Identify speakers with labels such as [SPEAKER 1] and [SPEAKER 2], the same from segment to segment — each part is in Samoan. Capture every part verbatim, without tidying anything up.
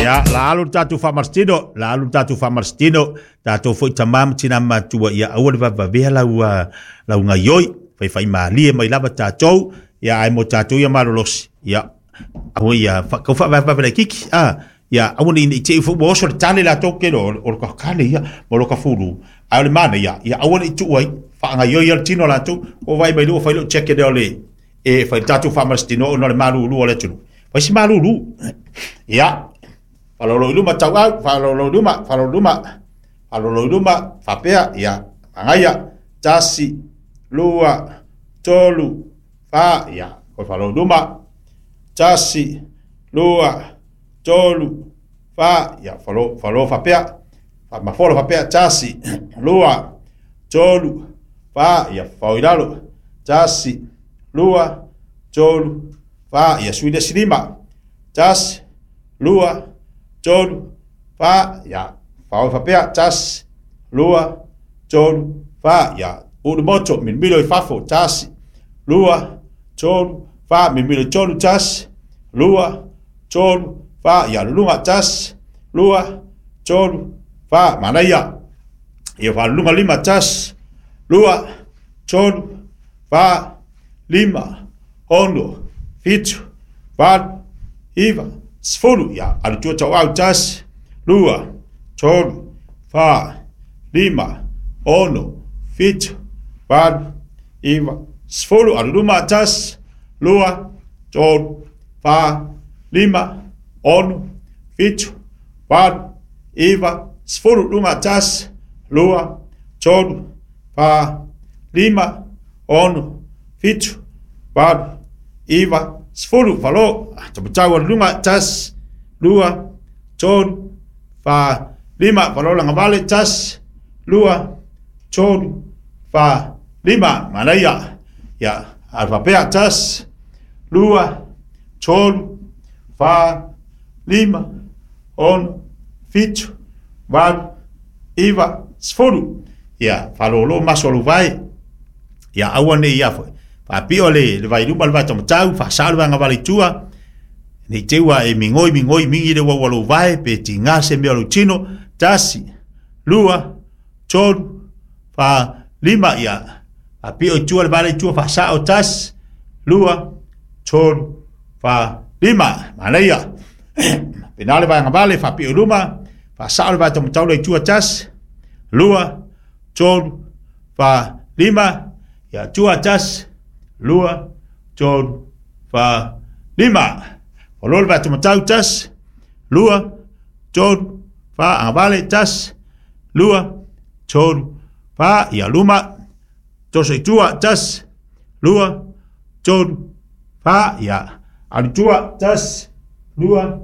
[SPEAKER 1] Ia, la alu tatou faamalositino, la alu tatou faamalositino, tatou foi tamā ma tinā matua ia aua le vavavea lau lau gaioi, faifaimalie mai lava tatou, ia ae mo tatou ia malolosi, ia aua ia kau faavavave laitiiti, a ia aua ne i te i foi ua oso le tale latou ke o o le kakale ia ma lo ka fulu, ae o le manaia, ia aua ne i tuu ai, faagaioi ia le tino latou, o vai mai lua fai lou check lea o le e fai tatou faamalositino ona o le malulu o le atunuu. Fai si malulu. Ia, faalolo i luma tauau, faalolo i luma, faalolo i luma, faalolo i luma, faapea, ia, magaia, tasi, lua, tolu, fa, ia, koe faalolo i luma, tasi, lua, tolu, fa, ia, falo, falo faapea, mafolo faapea, tasi, lua, tolu, fa, ia, fao i lalo, tasi, lua, tolu, fa, ia, sui le silima, tasi, lua, tolu, fa, ia, fao faapea, tasi, lua, tolu, fa, ia, ulu moto, milomilo i fafo, tasi, lua, tolu, fa, milomilo i tolu, tasi, lua, tolu, fa, ia, luluga, tasi, lua, tolu, fa, manaia, ia, faaluluga lima, tasi, lua, tolu, fa, lima, ono, fitu, valu, iva, sefulu, ia, alu tua tauau, tasi, lua, tolu, fa, lima, ono, fitu, valu, iva, sefulu, alu luma, tasi, lua, tolu, fa, lima, ono, fitu, valu, iva, sefulu, luga, tasi, lua, tolu, fa, lima, ono, fitu, valu, iva, sefulu, falo, tamatau alu luga, tasi, lua, tolu, fa, lima, falo lagavale, tasi, lua, tolu, fa, lima, manaia, ia, alu faapea, tasi, lua, tolu, fa, lima, ono, fitu, valu, iva, sefulu, ia, faalōlō maso o lou vae, ia aua nei ia foi, faapio le le vailuma le vaitamatau, faasao le vaegavale i tua, nei te ua e migoi migoi migi le uaua lou vae, pe tigā se mea o lou tino, tasi, lua, tolu, fa, lima, ia, faapio i tua le vale i tua, faasao, tasi, lua, tolu, fa, lima, manaia, pena le vaegavale, faapio i luma, faasao le vaitamatau le i tua, tasi, lua, tolu, fa, lima, ia, tua, tasi, lua, tolu, fa, lima. Falo le vaitamatau, tasi, lua, tolu, fa, agavale, tasi, lua, tolu, fa, ia, luma, toso i tua, tasi, lua, tolu, fa, ia, alu tua, tasi, lua,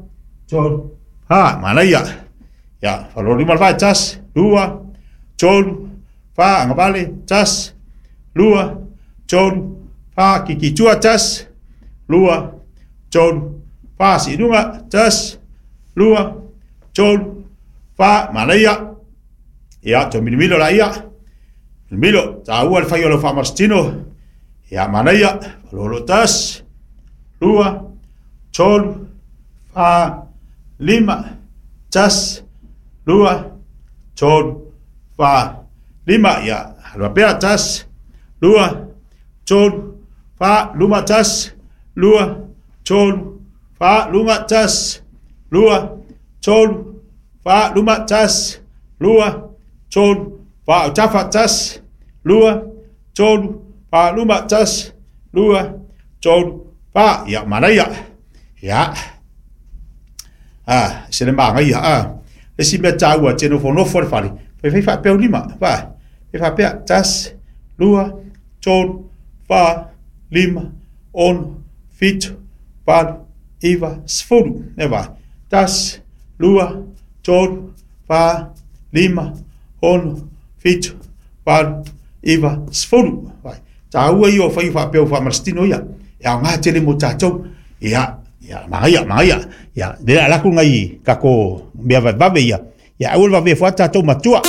[SPEAKER 1] tolu, fa, manaia, ia, falo lima le vae, tasi, lua, tolu, fa, agavale, tasi, lua, tolu, fa, kiki tua, tasi, lua, tolu, fa, siiluga, tasi, lua, tolu, fa, manaia, ia, toe milomilo laia, milomilo, taua le fai o lau faamalositino, ia, manaia, falolo, tasi, lua, tolu, fa, lima, tasi, lua, tolu, fa, lima, ia, alu faapea, tasi, lua, tolu, fa, luma, tasi, lua, tolu, fa, luga, tasi, lua, tolu, fa, luma, tasi, lua, tolu, fa, autafa, tasi, lua, tolu, fa, luma, tasi, lua, tolu, fa, ia, manaia, ia, a, se le magaia, a, le si mea taua, te nofonofo le fale, fai fai faapea lima, fa, fai faapea, tasi, lua, tolu, fa, lima, ono, fitu, valu, iva, sefulu, e vai, tasi, lua, tolu, fa, lima, ono, fitu, valu, iva, sefulu, vai, taua ia o fai faapea o faamalositino ia, e aogā tele mo tatou, ia, ia, magaia, magaia, ia, le alaku ngai kako mea vavave ia, ia aua le vavea foa tatou matua.